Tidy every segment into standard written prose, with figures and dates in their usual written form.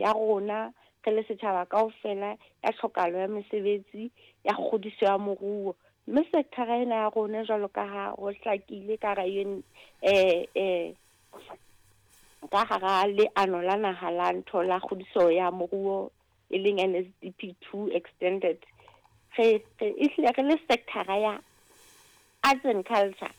ya rona re le setjhaba kaofela ya tlhokahalo ya mesebetsi, ya kgodiso ya moruo. Mme sekthara ena ya rona jwalo ka ha ho hlakile ka hara ka hara leano la naha la ntho la kgodiso ya moruo e leng NSDP 2 extended, re ehlile re le sekthara ya arts and culture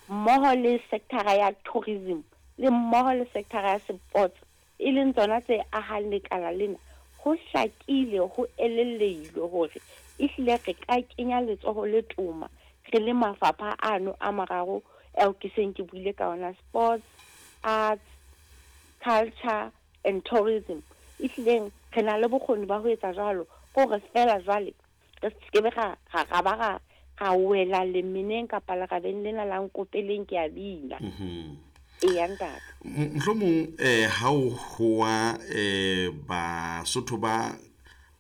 mmoho le sekthara ya tourism le mmoho le sekthara ya sports, e leng tsona tse ahang lekala lena, ho hlakile ho elellehilwe hore ehlile re ka kenya letsoho le toma re le mafapha ano a mararo ao ke seng ke buile ka ona, sports, arts, culture and tourism. Ehlileng re na le bokgoni ba ho etsa jwalo, ke hore feela jwale re se ke ra ra ba ra ra wela lemeneng kapa lerabeng lena la nkopeleng ke a bina. Eya ntate. Mohlomong ha o hoa Basotho ba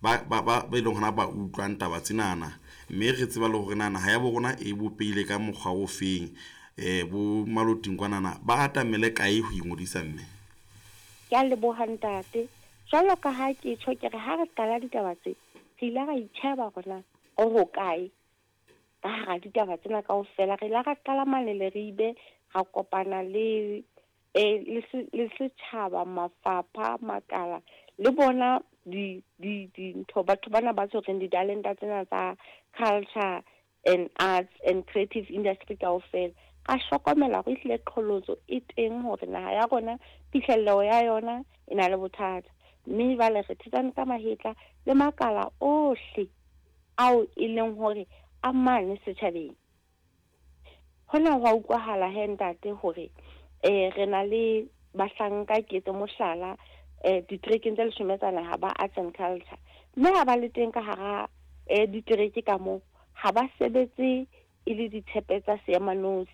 ba ba ba e leng hona ba utlwang taba tsenana, mme re tseba le hore na naha ya bo rona e bopehile ka mokgwa o feng, bo maloting kwanana ba atamele kae ho ingodisa mme? Ke a leboha ntate. Jwalo ka ha ke tjho ke re ha re qala ditaba tse, re ile ra itjheba hore na re hokae ka hara ditaba tsena kaofela. Re ile ra qala mane Leribe, ra kopana le le setjhaba, mafapha, makala le bona di di dintho, batho bana ba tshwereng ditalenta tsena tsa culture and arts and creative industry kaofela. Ra hlokomela hore ehlile qholotso e teng hore naha ya rona phihlello ya yona e na le bothata. Mme jwale re thetsane ka mahetla le makala ohle ao e leng hore a mane setjhabeng. Hona ho a utlwahala he ntate hore re na le bahlanka, ke etse mohlala, diterekeng tse leshome tsa naha ba arts and culture, mme ha ba le teng ka hara ditereke ka moo, ha ba sebetse e le ditshepe tsa seemanosi,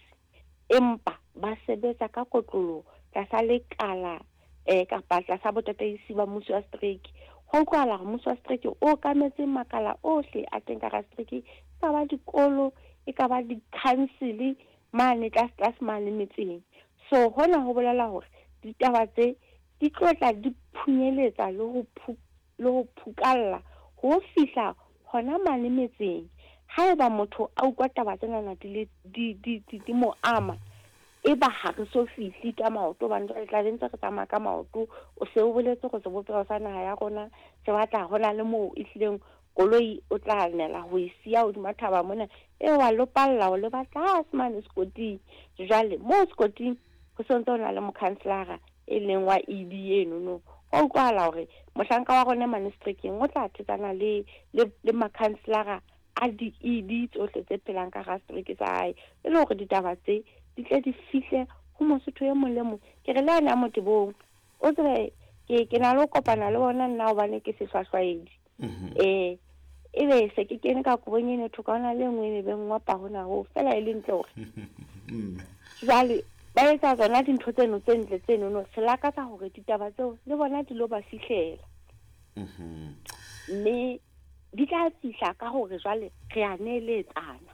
empa ba sebetsa ka kotloloho tlasa lekala kapa tlasa botataisi ba mmuso wa setereke. Ho utlwahala hore mmuso wa setereke o okametse makala ohle a teng ka hara setereke, e ka ba dikolo, e ka ba di-council mane tlase tlase mane metseng. So hona ho bolela hore ditaba tse di tlo tla di phunyeletsa le ho le ho phukalla ho fihla hona mane metseng. Haeba motho a utlwa taba tsenana di le di di di di mo ama, eba ha re so fihle ka maoto, hobane jwale tla be ntse re tsamaya ka maoto. O se o boletse hore sebopeho sa naha ya rona se batla hona le moo e hlileng koloi o tla nela ho e siya hodima thaba mona, e wa lopalla o leba tlase mane sekoting. Jwale moo sekoting ho sontse ho na le mokhanselara e leng wa ED enono. Ho utlwahala hore mohlanka wa rona mane seterekeng o tla thetsana le le le makhanselara a di-ED tsohle tse phelang ka hara setereke sa hae, e le hore ditaba tse di tle di fihle ho Mosotho e mong le mong. Ke re le ane a motebong, o tsebe ke na le ho kopana le bona nna hobane ke sehlwahlwaedi. Ebe se ke kene ka kobong eno thoka hona le e nngwe e be ngopa hona hoo fela e le ntle hore jwale ba etsa tsona dintho tseno tse ntle tsenono, re lakatsa hore ditaba tseo le bona di lo ba fihlela. Mme di tla fihla ka hore jwale re a neeletsana.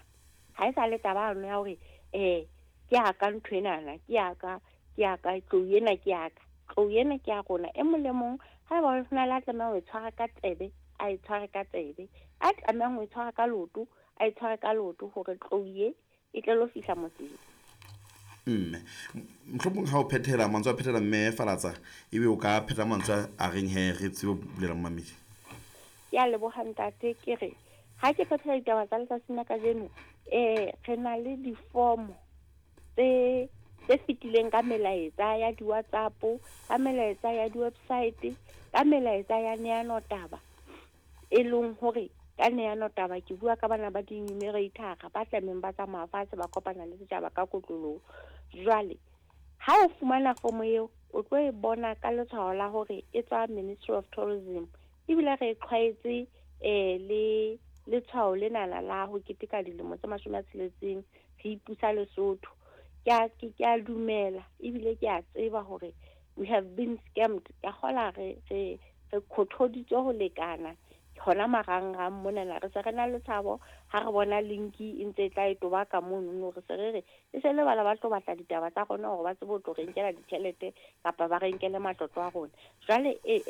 Ha e sa le taba yano ya hore ke ya ka ntho enana, ke ya ka, ke ya ka, tlou ena ke ya ka. Tlou ena ke ya rona. E mong le mong haeba ho na le a tlamehang ho e tshwara ka tsebe, a e tshware ka tsebe. A tlamehang ho e tshwara ka leoto, a e tshware ka leoto hore tlou e e tle lo fihla motseng. Mme mohlomong ha o phethela mantswe a phethela mme Falatsa, ebe o ka pheta mantswe a reng he re tsebe ho bulela momamedi. Ke a leboha ntate. Ke re ha ke phethela ditaba tsa letsatsing la kajeno, re na le difomo tse tse fetileng ka melaetsa ya di-WhatsApp, ka melaetsa ya di-website, ka melaetsa ya neano taba, e leng hore ka neano taba ke bua ka bana ba di-numerator ba tlamehang ba tsamaya fatshe ba kopana le setjhaba ka kotloloho. Jwale ha o fumana fomo eo, o tlo e bona ka letshwao la hore e tswa Ministry of Tourism, ebile re e qhwaetse le letshwao lenana la ho keteka dilemo tse 60 re ipusa Lesotho. Ke a dumela ebile ke a tseba hore we have been scammed. Ka kgola re re re khothoditswe ho lekana hona marangrang monana. Re se re na le tshabo ha re bona linki e ntse e tla e toba ka monono, re se re re e se le bana ba tlo batla ditaba tsa rona hore ba tsebe ho tlo re nkela ditjhelete kapa ba re nkele matlotlo a rona. Jwale e